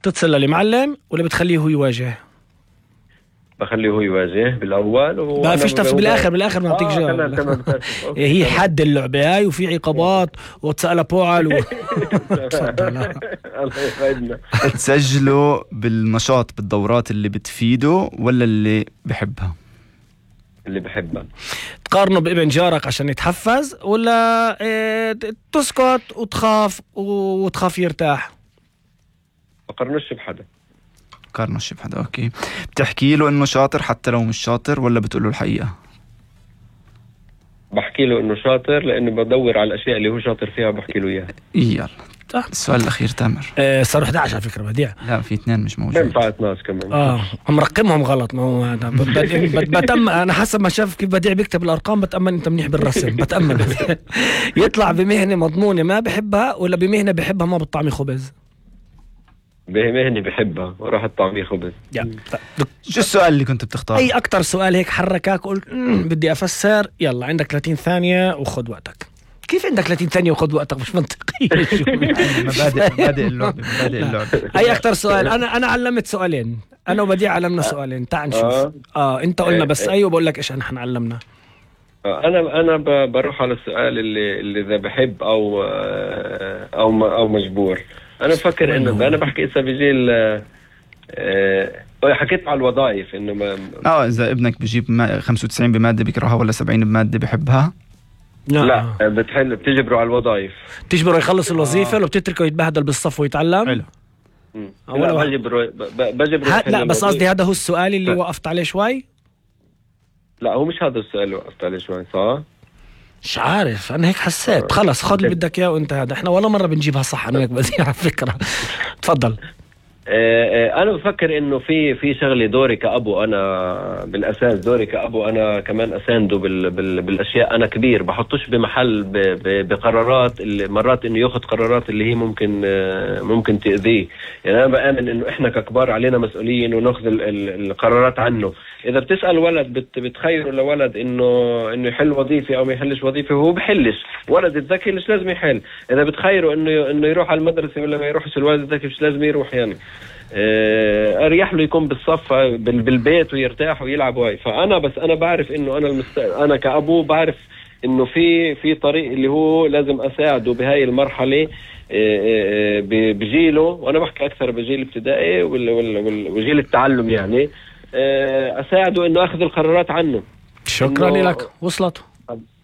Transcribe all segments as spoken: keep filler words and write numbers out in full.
تتصل للمعلم ولا بتخليه هو يواجه؟ بخليه هو يواجه بالاول. ما فيش تفصيل بالاخر بالاخر ما بتيجي جاوب. هي حد اللعبه هاي وفي عقابات وتسأل بوعل و... الله يسعدنا. تسجلوا بالنشاط بالدورات اللي بتفيده ولا اللي بحبها؟ اللي بحبها. تقارنوا بابن جارك عشان يتحفز ولا إيه تسكت وتخاف وتخاف يرتاح؟ بقارنوش بحدا. بقارنوش بحدا. اوكي. بتحكي له انه شاطر حتى لو مش شاطر ولا بتقول له الحقيقة؟ بحكي له انه شاطر لانه بدور على الاشياء اللي هو شاطر فيها بحكي له اياها. يلا السؤال الاخير تامر. آه صاروا احد عشر على فكره بديع. لا في اثنين مش موجود. بينفع اثناش كمان. اه هم مرقمهم غلط. ما هو هذا بتأمن انا حسب ما شاف كيف بديع بيكتب الارقام بتأمن انت منيح بالرسم. بتأمن يطلع بمهنه مضمونه ما بحبها ولا بمهنه بحبها ما بتطعمي خبز؟ بمهنه بحبها وراح الطعميه خبز. شو السؤال اللي كنت بتختار؟ اي اكتر سؤال هيك حركك قلت بدي افسر؟ يلا عندك ثلاثين ثانيه وخذ وقتك. كيف عندك ثلاثين ثانيه وخذ وقتك؟ مش منطقي. مبادئ مبادئ اللعبه مبادئ اللعبه. اي اكتر سؤال. انا انا علمت سؤالين. انا وبديع علمنا سؤالين. تعال نشوف. اه, آه انت قلنا بس اي وبقول لك ايش احنا علمنا. انا انا بروح على السؤال اللي اللي اذا بحب او او او مجبور. انا بفكر انه انا بحكي اذا بيجي ال حكيت على الوظائف انه ما اه اذا ابنك بجيب خمسة وتسعين بماده بيكرهها ولا سبعين بماده بحبها. لا, لا بتحل بتجبره على الوظائف. تجبره يخلص الوظيفه ولا بتتركه يتبهدل بالصف ويتعلم؟ حلو. لا بجبره بجبره. لا بس قصدي هذا هو السؤال اللي وقفت عليه شوي. لا هو مش هذا السؤال اللي وقفت عليه شوي صح؟ مش عارف انا هيك حسيت. خلص خذ اللي بدك اياه وانت هذا. احنا ولا مره بنجيبها صح. انا هيك بدي على فكره. تفضل. انا بفكر انه في في شغله دوري كابو. انا بالاساس دوري كابو انا كمان اسانده بال بال بالاشياء. انا كبير بحطوش بمحل ب ب بقرارات اللي مرات انه ياخذ قرارات اللي هي ممكن ممكن تاذيه. يعني انا بامن انه احنا ككبار علينا مسؤولين وناخذ القرارات عنه. اذا بتسال ولد بت بتخيره لولد انه انه يحل وظيفه او ما يحلش وظيفه هو بحلش. ولد الذكي مش لازم يحل. اذا بتخيره انه انه يروح على المدرسه ولا ما يروحش الولد الذكي مش لازم يروح. يعني اريح له يكون بالصف بالبيت ويرتاح ويلعب واي. فانا بس انا بعرف انه انا المستقبل. انا كأبو بعرف انه في في طريق اللي هو لازم اساعده بهاي المرحله بجيله. وانا بحكي اكثر بجيل الابتدائي وجيل التعلم. يعني اساعده انه اخذ القرارات عنه. شكرا لك. وصلت.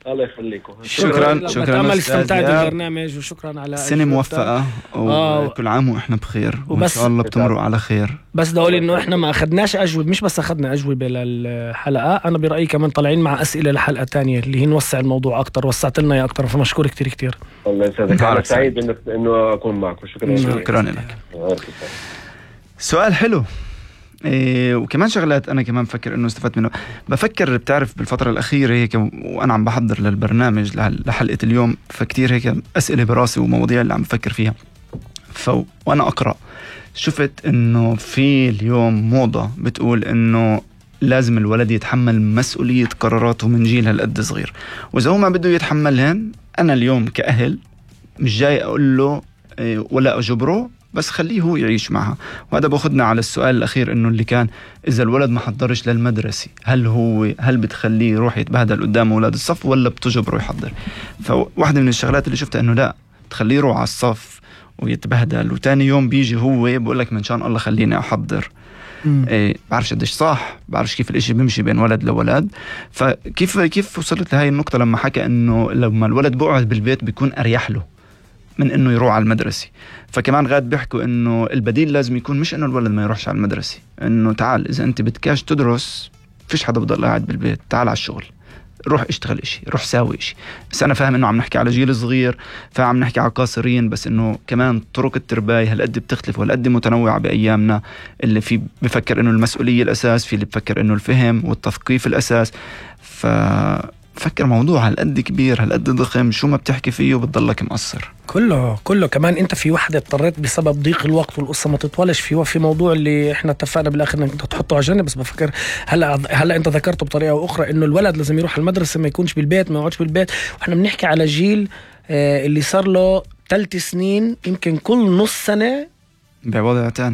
الله يخليكم. شكرا شكرا. بتأمل استمتعت بالبرنامج وشكرا على سنة موفقة وكل عام واحنا بخير وان شاء الله بتمروا على خير. بس بدي اقول انه احنا ما اخذناش اجوبه. مش بس اخذنا اجوبه للحلقه. انا برايي كمان طالعين مع اسئله لحلقه تانية اللي هي نوسع الموضوع اكثر. وسعت لنا يا اكثر. فمشكور كتير كتير. الله يسعدك. انا سعيد انه انه اكون معكم. شكرا شكرا لك. سؤال حلو. إيه وكمان شغلات أنا كمان بفكر إنه استفدت منه. بفكر بتعرف بالفترة الأخيرة هيك وأنا عم بحضر للبرنامج لحلقة اليوم فكتير هيك أسئلة براسي ومواضيع اللي عم بفكر فيها. ف وأنا أقرأ شفت إنه في اليوم موضة بتقول إنه لازم الولد يتحمل مسؤولية قراراته من جيل هالقد صغير. وإذا هو ما بده يتحملهن أنا اليوم كأهل مش جاي أقول له إيه ولا أجبره بس خليه هو يعيش معها. وهذا بأخذنا على السؤال الأخير إنه اللي كان إذا الولد ما حضرش للمدرسة هل هو هل بتخليه يروح يتبهدل قدام أولاد الصف ولا بتجبره يحضر؟ فواحدة من الشغلات اللي شفتها إنه لا تخليه يروح على الصف ويتبهدل وتاني يوم بيجي هو بقول لك من شان الله خليني أحضر. إيه بعرفش قديش صح. بعرفش كيف الاشي بيمشي بين ولد لولد. فكيف كيف وصلت لهاي النقطة لما حكى إنه لما الولد بقعد بالبيت بيكون أريح له من انه يروح على المدرسة. فكمان غاد بيحكوا انه البديل لازم يكون مش انه الولد ما يروحش على المدرسة. انه تعال اذا انت بدكاش تدرس فيش حدا بضل قاعد بالبيت. تعال على الشغل. روح اشتغل اشي. روح ساوي اشي. بس انا فاهم انه عم نحكي على جيل صغير فعم نحكي على قاصرين. بس انه كمان طرق الترباية هالقد بتختلف وهالقد متنوعة بايامنا. اللي في بفكر انه المسؤولية الاساس. في اللي بفكر انه الفهم والتثقيف الاساس. ف فكر موضوع هالقد كبير هالقد ضخم شو ما بتحكي فيه وبتضلك مقصر. كله كله كمان انت في وحدة اضطريت بسبب ضيق الوقت والقصة ما تطولش فيه. في موضوع اللي احنا اتفقنا بالاخر انك تحطه على جنب. بس بفكر هلا هلا انت ذكرته بطريقة اخرى انه الولد لازم يروح المدرسة ما يكونش بالبيت ما يقعدش بالبيت. واحنا بنحكي على جيل اه اللي صار له ثلاث سنين يمكن كل نص سنة بوضع تاني.